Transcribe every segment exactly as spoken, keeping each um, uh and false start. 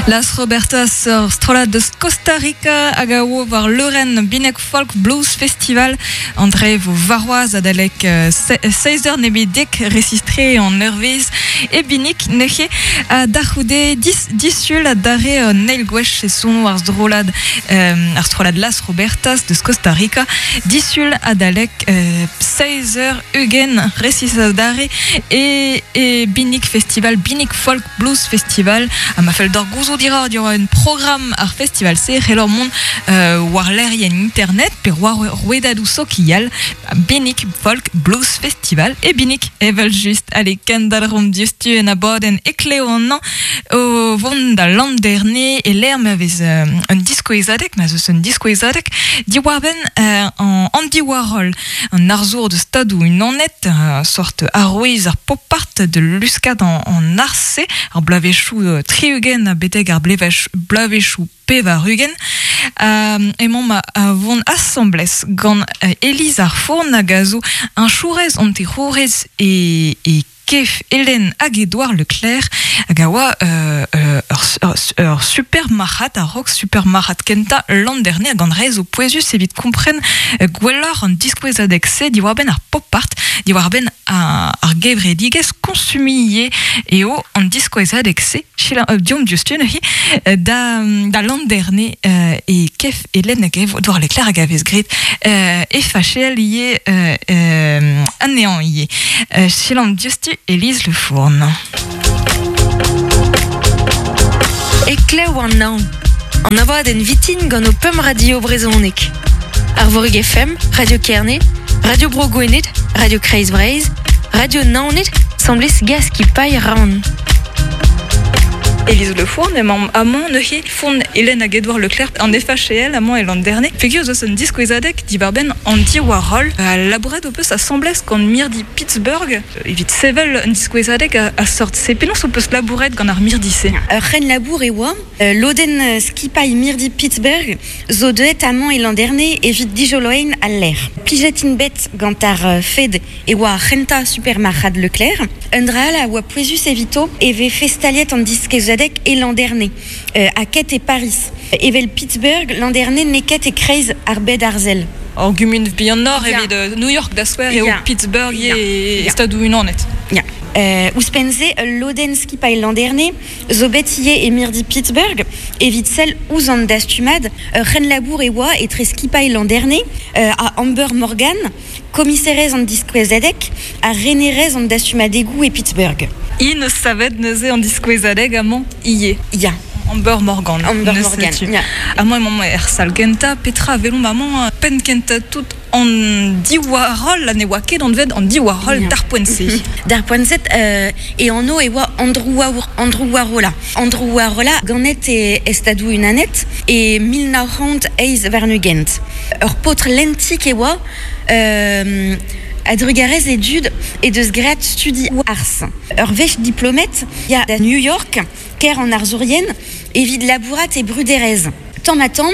Las Robertas ur strollad deus Costa Rica hag a oa war leurenn Binek Folk Blues Festival André vo varroaz adalek euh, se- seiz eur nebedek resistre an eurvez e Binik neuze a darc'houde dis, disul a dare euh, neil gwech e son ar strollad euh, ar strollad Las Robertas deus Costa Rica disul adalek euh, seiz eur ugent resis a dare e, e Binik Festival Binik Folk Blues Festival a ma fell d'or gouzo dira diwar un programm ar festival se c'hellor mont euh, war lec'hienn internet pe war rouedadoù sokial Binik Folk Blues Festival e Binik evel just ale kendalc'homp diouzhtu en abadenn Ekleo an an o vont da Landerne e lec'h ma vez euh, un diskouezadeg ma zeus un diskouezadeg diwar-benn euh, an Andy Warhol an arzour de stadoù unanet euh, sort arouez ar pop-art de luskad an, an arse ar blavechoù euh, tri-ugent a beteg ar blevech, blavechoù pevar ugent euh, emañ ma a vont asambles gant euh, Élise ar Fourn hag a zo un chourez an terourez e, e kef Hélène hag Edouard Leclerc hag a oa euh, euh, ur, ur, ur super marc'had a rock super marc'had kenta l'an dernier hag an rez o pouezus evit kompren euh, gwelloc'h an diskouezadeg se diwar-benn ar pop-art diwar-benn ar, ar gevredigezh konsumie eo an diskouezadeg se chila euh, diom diouzhtu neuze euh, da, da l'an dernier euh, e kef Hélène hag Edouard Leclerc hag a vez graet euh, e fachel ivez euh, euh, anezhañ ivez euh, chilan diouzhtu Élise Le Fourn. Eklev an an. An abadenn vitin gant o pemp radio brezhoneg. Arvorig F M, Radio Kerne, Radio Bro Gwened, Radio Kreiz Breizh, Radio Naoned, semblez gaz ki paille ran. Élise Le Fourn emañ amañ neuze Fourn Hélène hag Edouard Leclerc an F H L amañ e l'an dernier. Peogwir zo un diskouezadeg diwar-benn Andy Warhol a labouret o peus asambles gant mirdi Pittsburgh evit sevel un diskouezadeg a, a sort se. Penaos o peus labouret gant ar mirdi-se? Ur c'hen labour e oa, euh, lodenn skipailh mirdi Pittsburgh zo deuet amañ e l'an dernier evit dijoloein al lec'h. Plijet int bet gant ar, euh, fed e oa ar c'hentañ supermarc'had Leclerc. Un dra all a oa pouezus evito e vez festaliet an diskouezadeg e l'an dernier, euh, a ket e Paris. Evel Pittsburgh, l'an dernier neket e kreiz ar bed arzel. Ar gumun bihan nord Ya. evit, euh, New York da skouer eo Ya. Pittsburgh Ya. e Ya. stadoù unanet. Ya. Euh, ouzhpenn-se, ul lodenn skipailh l'an dernier zo bet ivez e mirdi Pittsburgh evit sell ouzh an dastumad ur c'hen labour e oa etre skipailh l'an dernier, euh, a Amber Morgan, komiserez an diskouezadeg ha renerez an dastumadegoù e Pittsburgh. I ne savet neuze an diskouezadeg amañ ivez. Ya. Amber Morgan. Amber Ne Morgan, sais-tu. ya. Amañ emañ er sal gentañ, petra velomp amañ penn kentañ tout an Warhol, ne oa ket anvet an Warhol Ya. d'ar poent-se. D'ar poent-se, euh, e anv e oa Andrew War-, Andrew Warhola. Andrew Warhola ganet e estadoù unanet e mil nav c'hant eizh warn-ugent. Ur paotr lentik e oa, euh, a drugarez e dud e deus graet studi arz. Ur wech diplomet ya da New York, ker an arzourien, evit labourat e bruderez. Tamm ha tamm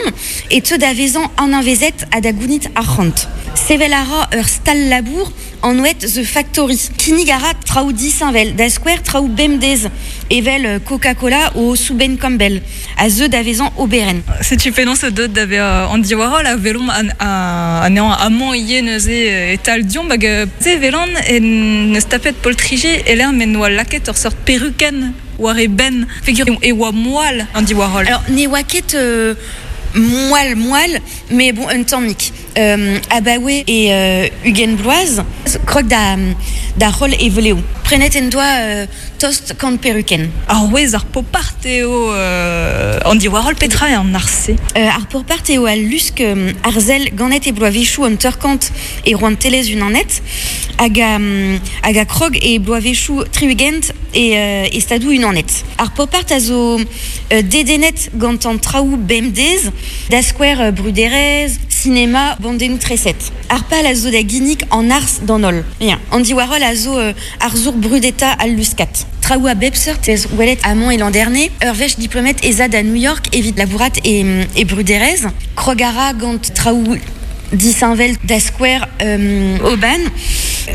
e teu da vezañ an anvezet ha da gounit arc'hant. Sevel a ra ur stal labour an oet The Factory. Kinnig a ra traoù disheñvel, da skouer traoù bemdez, evel, euh, Coca-Cola o Souben Campbell, a zeu da vezañ oberenn. Setu penaos e deut da vezañ Andy Warhol a velomp an, a, anezhañ amañ ivez neuze, euh, e-tal diomp hag, euh, se velan en neus tapet poltriji e lec'h m'en doa lakaet ur seurt perukenn war e benn. Peogwir e oa moal Andy Warhol. Alors, ne oa ket, euh, moal, moal, mais bon, un tammig. Euh, abaoe e, euh, ugent bloaz, krog da, da roll e veleo. Prenet en doa, euh, tost kant perukenn. Ar wez ar pop-art eo, euh, Andy Warhol petra eo an arse? Euh, ar pop-art eo al lusk, euh, arzel ganet e bloavezhioù an teurkant e rouantelezh unanet, hag a, hag a krog e bloavezhioù tri-ugent e, euh, e stadoù unanet. Ar pop-art a zo, euh, dedennet gant an traoù bemdez, da skouer, euh, bruderez, cinéma, bandennoù treset. Ar pal a zo da ginnig an arz d'an holl. Ya. Andy Warhol a zo, euh, arzour brudeta al luskat. Traoù a bep seurt ez welet amañ e l'an dernier, ur wech diplomet ez a da New York evit labourat e, e bruderez. Krog a ra gant traoù disheñvel da skouer, euh, oban.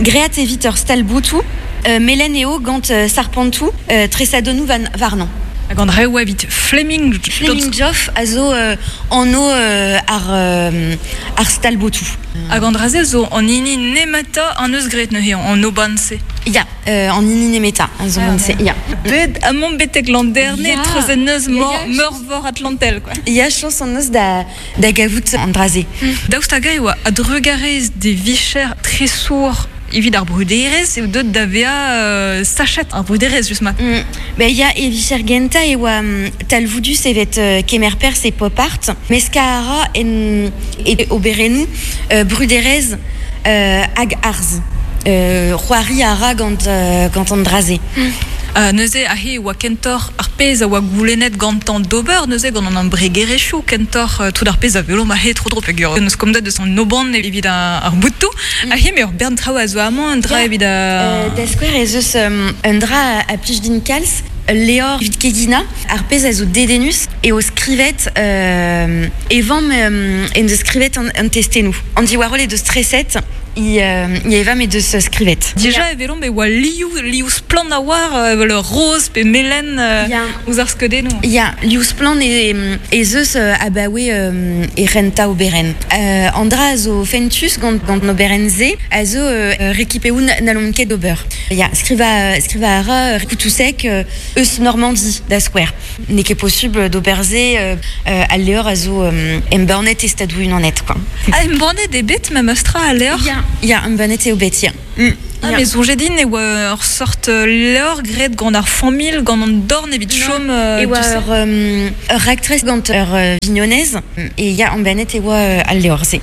Great evit ur stal boutou, euh, melen eo gant, euh, sarpantou, euh, tresadennoù van, warnañ. Hag an reoù evit Fleming... Fleming Joff a zo euh, anno euh, ar, euh, ar stalbotou. Hag an draze zo an hini nemeta an eus gret neuze, an oban-se. Ya, euh, an hini nemeta, an zo ah, se, ya. Bet amon betek l'an dernier, trezen eus meurvor Atlantel, quoi. Ya, chans an eus da, da gavout an draze. Mm. Daoust hag e oa a-drugarez des vicher tresour evit ar bruderez eo deut da vea euh, sachet ar bruderez just mat. Mm. Ben ya e vicher genta e oa um, talvoudus evet uh, kemer pers e pop art, meska a ra en e oberennou uh, bruderez uh, hag arz. Uh, c'hoari a ra gant, uh, gant an draze. Mm. Uh, neuze ahe oa kentor ar pezh a oa goulennet gantan d'ober, neuze gant an embregerezhioù kentor uh, tout ar pezh a velo ma he tro dro peogwir neus komzet deus an oban evit ar boutoù. Mm. Ahe me ur bern traoù a zo amañ un dra evit a... Euh, da skouer ez eus um, un dra a plij din kalz, Leor evit kegina, ar pezh a zo dedenus e o skrivet euh, e vamm euh, en deus skrivet an, an testennoù. An diwarol e deus streset i, euh, i evam e deus skrivet. Dija e velomp e oa liou, liou splann a war, euh, le rose pe melen euh, Ya. ouzh ar skeudennoù. Ya, liou splann e, ez eus euh, abaoe euh, e renta oberen. Euh, an dra a zo fentus gant, gant an oberen ze, a zo euh, rekipeoù n'allomp ket d'ober. Ya, skriva, skriva a ra koutousek euh, eus Normandie da skouer. N'eo ket possible d'ober ze euh, euh, al leor a zo euh, embannet e stadou unanet, quoi. Ah, embannet e bet ma meustra al leor? Ya, ya, embannet eo bet, ya. Mm. Ah, mais soñjet din e oa ur sort leor gret gant ar familh, gant an dorn evit chom... Euh, e oa ur, um, ur raktres gant ur uh, vignonez, e ya embannet e oa uh, al leor se.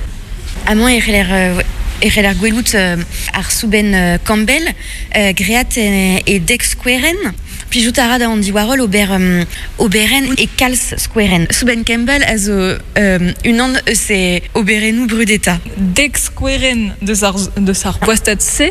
Amañ e c'heller... Euh, e c'heller gwelout euh, ar soubenn euh, Campbell, euh, great e, e dek skoueren, Plijout a ra da an diwarol ober, um, oberen e kalz skoueren. Soubenn Campbell a zo um, unan eus e oberennoù brudeta. Dek skoueren deus ar, deus ar boastad se,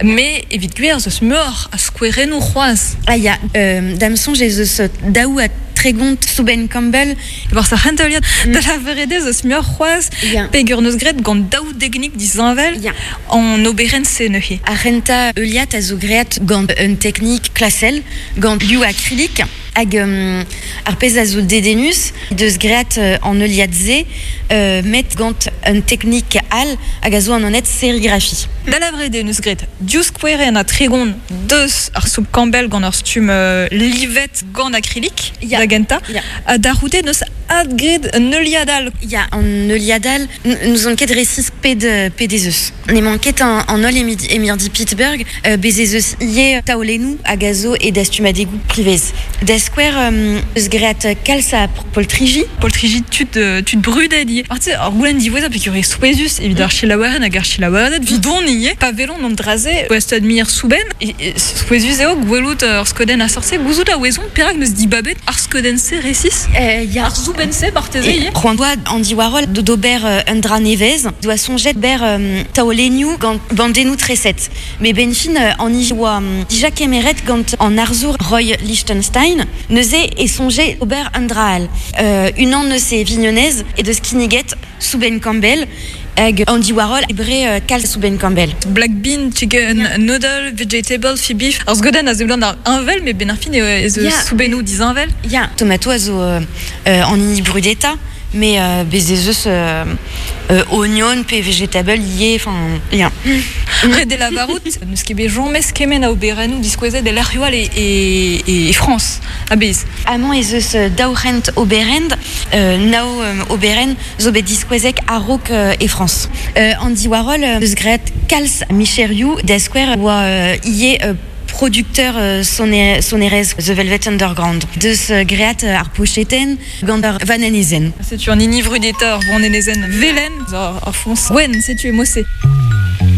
me evit gwir zeus meur a skouerennoù c'hoazh. Ah ya, euh, da'm soñj ez eus daou a tregont Soubenn Campbell. War sa c'henteuliad, mm. Da la veredez eus meur c'hoazh, yeah. Pegur neus gret gant daou degnik disheñvel yeah. An oberen se neuze. Ar c'hentañ heuliad a zo great gant un teknik klasel, gant liou akrilik, hag um, ar pezh a zo dedenus, deus great uh, an heuliad se, uh, met gant un teknik all hag a zo an anet serigrafi. Da la vrede neus gret div skoueren a tregont deus ar soup Campbell gant ur stumm uh, livet gant akrilik, Ya. Da genta, Ya. Ha da c'houde neus adgret un heuliad all. Ya, an heuliad all, nous on ket resis ped, ped ez eus. N'emañ ket an, an holl emirdi Pittsburgh, euh, bez ez eus ie taolennoù hag a zo e dastumadegoù privez. Da skouer um, eus great kalz a poltriji. Poltriji tud, tud brudet ie. Ar ar goulenn diwezhañ peogwir eo souezhus evit ar selaouerien hag ar selaouereded vidon ie. Pa velon an draze oa mir soubenn, e, e, souezhus eo gwelout ur skeudenn a sorse, gouzout a ouezon perak neus dibabet ar skeudenn-se resis. Euh, ya. Ar soubenn-se marteze ie. C'hoant doa an diwarol d'ober euh, un dra nevez, doa soñjet ber euh, taolennoù gant bandennoù treset. Me ben fin euh, an i oa um, dija kemeret gant an arzour Roy Lichtenstein, neuze e soñjet ober un dra all. Euh, unan eus e vignonez e deus kinniget Soubenn Campbell hag Andy Warhol e bre euh, kalz Soubenn Campbell. Black bean, chicken, yeah. Noodle, vegetable, fi beef. Ar skeudenn a seblant ar unvel, me ben ar fin eo ez eus Ya. soubennoù disheñvel. Ya, tomato a zo euh, euh, an hini brudeta, mais euh, bez ez eus euh, euh, oignon pe vegetable ie, enfin, ya. Ret e lavarout, neus ket bet james kement a oberennoù diskouezet e lec'hioù all e, e, e France, a-bezh. Amañ ez eus daou c'hant oberend, euh, nao euh, oberen zo bet diskouezek a-raok euh, e France. Euh, Andy Warhol euh, eus graet kalz micherioù da skouer oa euh, ie euh, producteur euh, soner, sonerez The Velvet Underground. Deus euh, great euh, ar pocheten gant ar vanenezen. Setu an hini brudeta ar vanenezen velen, ar, ar foñs gwenn, setu e mose.